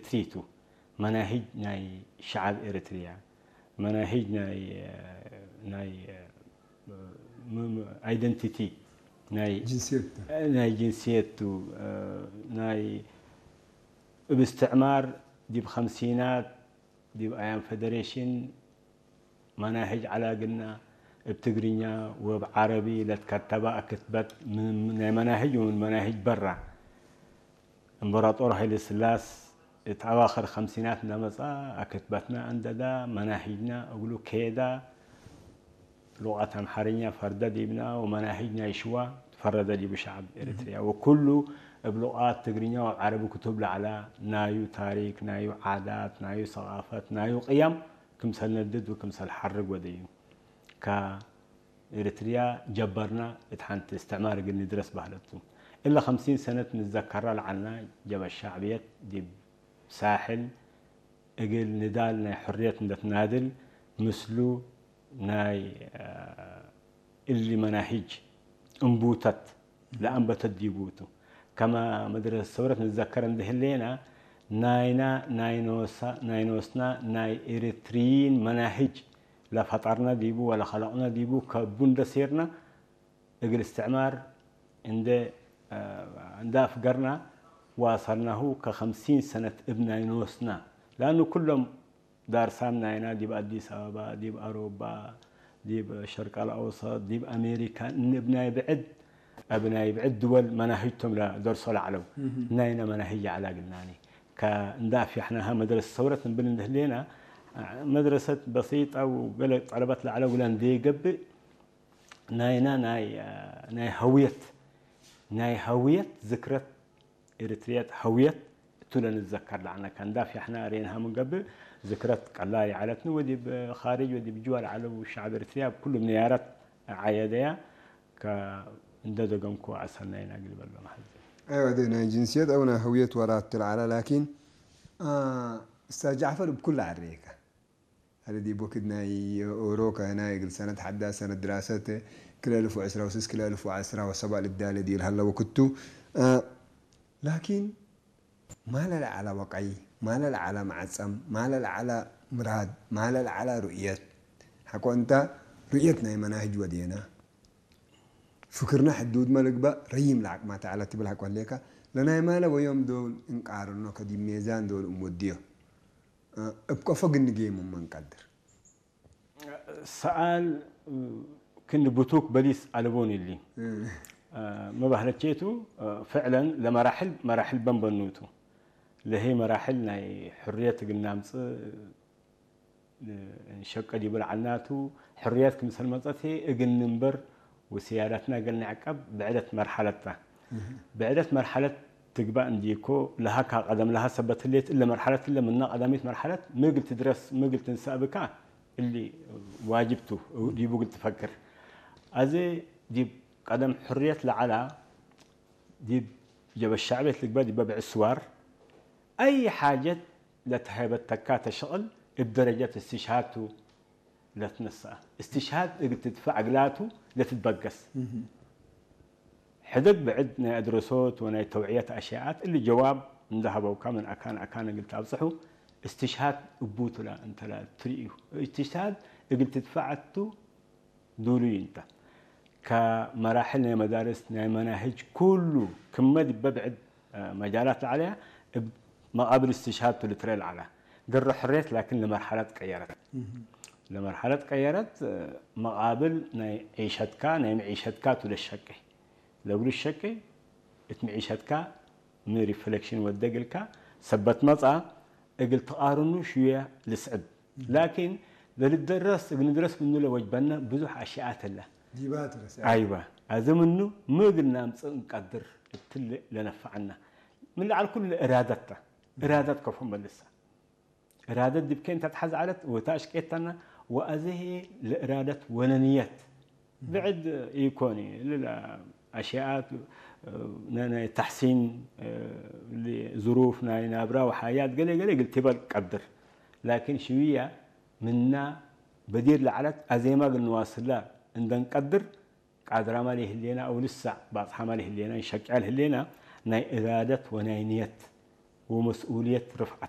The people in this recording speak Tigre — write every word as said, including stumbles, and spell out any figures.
ቲቱ። መናሂጅ ናይ ሸዐብ ኤረትርያ፣ መናሂጅ ናይ፣ ናይ ም-፣ ም-፣ ኣይደንቲቲ ናይ ጅንስየት ተ። ናይ ጅንስየት ቱ፣ ናይ እብ እስትዕማር ዲብ ኸምሲናት ዲብ አያም ፌደሬሽን መናህጅ ዐለ እግልና፣ እብ ትግርኛ ወእብ ዐረቢ ለትከተበ አክትበት ምን፣ ምን ናይ መናህጅ ወምን መናህጅ በራ። እምበራጦር ሀይለ ስላስ እት አዋክር ኸምሲናት እንደ መጽአ አክትበትና አንደዳ፣ መናህጅና እግሉ ኬዳ። ሉቀት አምሓርኛ ፈርደ ዲብና ወመናህጅ ናይ ሽዋ ትፈረደ ዲቡ ሸዐብ ኤረትርያ። ወኩሉ እብ ሉቃት ትግርኛ ወዐረቢ ክቱብ ለዐለ ናዩ ታሪክ፣ ናዩ ዓዳት፣ ናዩ ሰቃፈት፣ ናዩ ቅያም ክምሰል ነድድ ወክምሰል ሐርግ ወደዩ። ከኤረትርያ ጀበርና እት ሐንቲ እስትዕማር እግል ንድረስ በህለት ቱ። እለ ኸምሲን ሰነት ንዘከራ ለዐልና ጀበ ሸዕብየት ዲብ ሳሕል እግል ንዳል ናይ ሕርየት እንደ ትናድል ምስሉ ናይ፣ አ፣ እሊ መናሂጅ እንቡተት ለአንበተት ዲቡ ቱ። ከመ መድረሰት ሰውረት ንትዘከር እንደ ህሌና፣ ናይና ናይ ኖሳ-፣ ናይ ኖስና ናይ ኤሪትሪይን መናሂጅ ለፈጠርነ ዲቡ ወለከለቅነ ዲቡ ከቡ እንደ ሴርነ፣ እግል እስትዕማር እንደ፣ አ፣ እንደ አፍገርና ዋሰልናሁ ከኸምሲን ሰነት እብ ናይ ኖስና። ለአኑ ኩሎም ዳርሳም ናይና ዲብ አዲስ አበባ፣ ዲብ አሮባ፣ ዲብ ሸርቅ አልአውሰጥ፣ ዲብ አሜሪካ፣ እብ ናይ ብዕድ፣ እብ ናይ ብዕድ ድወል መናህጅቶም ለደርሶ ለዐለው። እህ። ናይና መናህጅ ዐላ እግልናኒ። ከእንደ አፍያሕናሃ መድረሰት ሰውረት እንብል እንደ ህሌና፣ መድረሰት በሲጠ ወገለ ጠለበት ለዐለው እግለ እንዴ ገብእ፣ ናይና ናይ፣ ናይ ሀውየት፣ ናይ ሀውየት ዝክረት ኤሪትርየት ሀውየት እቱ ለንትዘከር ለዐልነ። ከእንደ አፍያሕና ሬንሃ ምን ገብእ፣ ዝክረት ቀላይ ዐለትኒ ወዲብ ካርጅ ወዲብ ጅዋ ለዐለው ሸዐብ ኤሪትርያ እብ ኩሉ ምንያረት ዐየደያ። ከእንደ ደገምኩ አሰናይና እግል በሎ መሐዜ። አይወ፣ እዴ ናይ ጅንስየት አው ናይ ሀውየት ወራት ለዐለ፣ ላኪን፣ አ፣ እስታዝ ጃዕፈር እብ ኩሉ ዐሬከ። ሀለ ዲብ ወክድ ናይ ኦሮ ከህናይ እግል ሰነት ሐዳስ ሰነት ድራሰት ክልኤ አልፍ ወዕስራ ወስስ ክልኤ አልፍ ወዐስራ ወሰብዕ ልዳሌ ዲብ ለሀለ ወክድ ቱ። አ፣ ላኪን ማለ ለዐለ ወቀይ፣ ማለ ለዐለ መዐጸም፣ ማለ ለዐለ ምራድ፣ ማለ ለዐለ ሩእየት። ሐቆ እንተ ሩእየት ናይ መናህጅ ወዴና፣ ፍክርና ሕዱድመ ልግበእ ረዪም ለዐቅማተ ዐለ ትብል ሐቆ ህሌከ፣ ለናይ ማለ ወዮም ዶል እንቃርኖ ከዲብ ሜዛን ዶል እንወድዮ። እብ ቀፎ እግል ንጌሙ ምን ቀድር። ሰኣል ክእኒ ብቱክ በሊስ አለቦኒ እሊ። እ። መባህለቼቱ፣ ፍዕለን ለመራሕል፣ መራሕል በንበኑቱ። ለህይ መራሕል ናይ ሕርየት እግል ናምጽእ እንሸቀ ዲቡ ለዐልናቱ፣ ሕርየት ክምሰል መጸት ህይ እግል ንንበር ወስያዳትና እግል ንዕቀብ ብዕደት መርሐለት ተ። እህ። ብዕደት መርሐለት ትግባእ እንዲኮ፣ ለሀካ ቀደም ለሀ ሰበት ህሌት፣ እለ መርሐለት እለ ምና ቀዳሚት መርሐለት ሚ እግል ትድረስ፣ ሚ እግል ትንሰእ ብካ፣ እሊ ዋጅብ ቱ፣ ዲቡ እግል ትፈክር። አዜ ዲብ ቀደም ሕርየት ለዐላ፣ ዲብ ጀበ ሸዕብየት ልግበእ ዲበ ብዕድ ስዋር፣ አይ ሓጀት ለተሀይበተካተ ሽቅል እብ ደረጀት እስትሽሃድ ቱ ለትነሰአ። እስትሽሃድ እግል ትድፈዕ እግላቱ ለትትበገስ። እህ። ሕደግ ብዕድ ናይ አድረሶት ወናይ ተውዕየት አሽያአት እሊ ጀዋብ እንደ ሀበውካ ምን አካን አካን እግል ተአብጽሑ፣ እስትሽሃድ እቡ ቱ ለእንተ ለትርእዩ። እስትሽሃድ እግል ትድፈዕ ቱ ዱሉይ እንተ። ከመራሕል ናይ መዳርስ፣ ናይ መናህጅ ኩሉ ክመ ዲበ ብዕድ መጃላት ለዐለያ እብ መቃብል እስትሽሃድ ቱ ልትረኤ ለዐለ። ገረ ሕርየት ላኪን ለመርሐለት ቀየረት። እህ። ለመርሐለት ቀየረት፣ መቃብል ናይ ዒሸትካ፣ ናይ መዒሸትካ ቱ ለሸቄ። ለእግሉ ሸቄ እት መዒሸትካ ሚ ሪፍሌክሽን ወደ እግልካ ሰበት መጽአ እግል ትቃርኑ ሽውየ ልስዕብ። እህ። ላኪን ለልደረስ እግል ንድረስ ምኑ ለወጅበነ ብዙሕ አሽያአት ህለ። ዲባ ትረስ። አይወ። አዜ ምኑ ሚ እግል ናምጽእ እንቀድር እትሊ ለነፈዐነ። ምን ለዐል ኩሉ ለእራደት ተ። እራደት ከፎ መልሰ። እራደት ዲብ ኬን ተትሐዝ ዐለት ወተ አሽቄተነ ወአዜ ህዬ ለእራደት ወለንየት ብዕድ ኢኮኒ። እሊ አሽያአት ናይ፣ ናይ ተሕሲን፣ እሊ ዝሩፍ ናይ ናብራ ወሐያት ገሌ ገሌ እግል ቲበል ቀድር። ላኪን ሽውያ ምና በዲር ለዐለት አዜማ እግል ንዋስላ እንደ እንቀድር ቃድራመ ለህሌና አው ልሳዕ ባጽሓመ ለህሌና እንሸቅዐ ለህሌና ናይ እራደት ወናይ ንየት ወመስኡልየት ርፍዐት።